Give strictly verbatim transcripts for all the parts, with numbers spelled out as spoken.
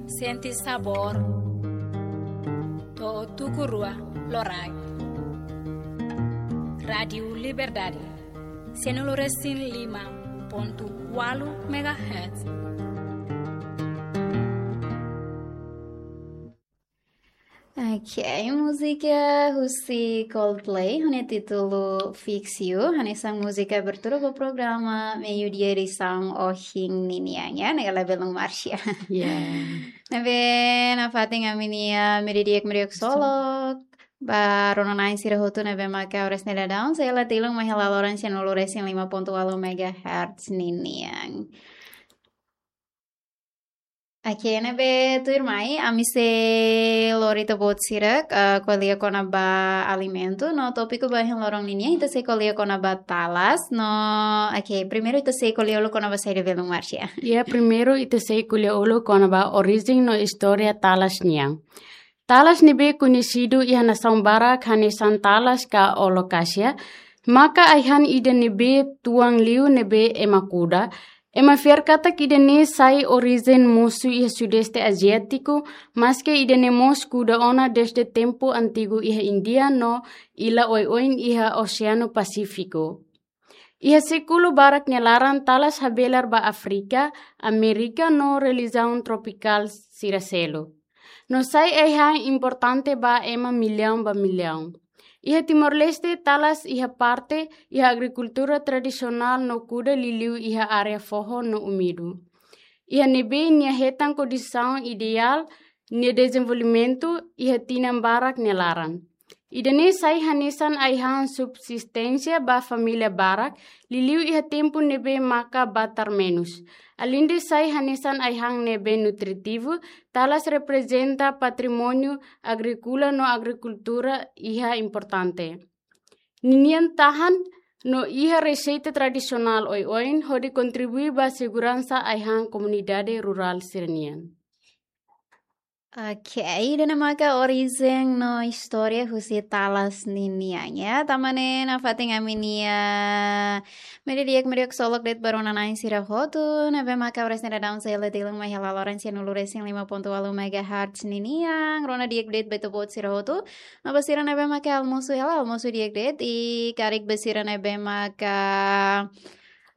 Sente sabór. To'o tuku rua loraik. Rádiu Liberdade. Sianulu resin lima pontu ualu megahertz. Ok, múzika husi Coldplay, ho nia títulu Fix You, hanesan múzika abertura ba programa Meiudia edisaun ohin ninian, ya, ne'e ka lae, belun Marcia? Ya. Ne'ebé nafatin ami-nia meiudia di'ak, meiudia di'ak ksolok ba rona-na'in sira hotu ne'ebé maka oras ne'e daudaun sei la tilun mai hela loron sianulu resin lima pontu ualu megahertz ninian. Ok, ne'ebé tuirmai, ami sei lori ita-boot sira, eh, ko'alia kona-ba alimentu, no tópiku ba ohin loron ninian, ita sei ko'alia kona-ba talas, no, ok, primeiru ita sei ko'alia uluk kona-ba saida, belun Marcia? Ya, primeiru ita sei ko'alia uluk kona-ba orijen no istória talas nian. Talas ne'ebé koñesidu iha nasaun barak hanesan talas ka olokásia, maka ai-han ida ne'ebé tuan liu ne'ebé ema kuda. Ema fiar katak ida-ne'e sai orijen mosu iha Sudeste Aziátiku, maske ida-ne'e mós kuda ona desde tempu antigu iha Índia no ila oioin iha Oseanu Pasífiku. Iha sékulu barak nia laran talas habelar ba Áfrika, Amérika no relijiaun tropikál sira seluk. No sai ai-han importante ba ema millaun ba millaun. Iha Timor-Leste talas iha parte iha agrikultura tradisionál no kuda liuliu iha área foho no umidu. Iha ne'ebé nia hetan kondisaun ideál nia dezenvolvimentu iha tinan barak nia laran. Ida-ne'e sai hanesan ai-han subsisténsia ba família barak, liuliu iha tempu ne'ebé maka batar menus. Aleinde sai hanesan ai-han ne'ebé nutritivu, talas reprezenta patrimóniu agríkola no agrikultura iha importante. Ninian tahan no iha reseita tradisionál oioin hodi kontribui ba seguransa ai-han komunidade rurál sira-nian. Ok, ida-ne'e maka orijen no istória husi talas ninian, ya. Tanba ne'e nafatin ami-nia meiudia di'ak, meiudia di'ak ksolok de'it ba rona-na'in sira hotu, ne'ebé maka oras ne'e daudaun sei la tilun mai hela loron sianulu resin lima pontu ualu megahertz ninian, rona di'ak de'it ba ita-boot sira hotu. No ba sira ne'ebé maka almosu hela, almosu di'ak de'it, i karik ba sira ne'ebé maka,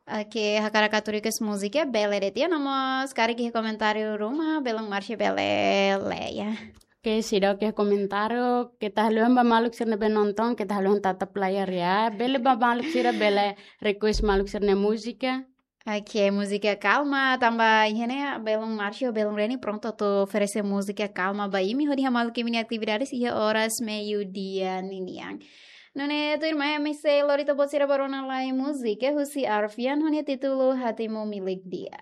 ok, hakarak atu request múzika, bele de'it, ya, no mós karik iha komentáriu ruma, belun Marcia bele lee, ya. Ok, seidauk iha komentáriu, keta haluha ba maluk sira ne'ebé nonton, keta haluha tatap layar, ya. Bele ba maluk sira, bele request maluk sira-nia múzika. Ok, múzika kalma, tanba iha ne'e, belun Marcia, belun Reni, prontu atu oferese múzika kalma ba imi, hodi hamaluk imi-nia atividades iha oras meiudia ninian. Nune'e tuirmai, ami sei lori ita-boot sira ba rona lai múzika husi Arfian, ho nia títulu Hatimu Milik Dia.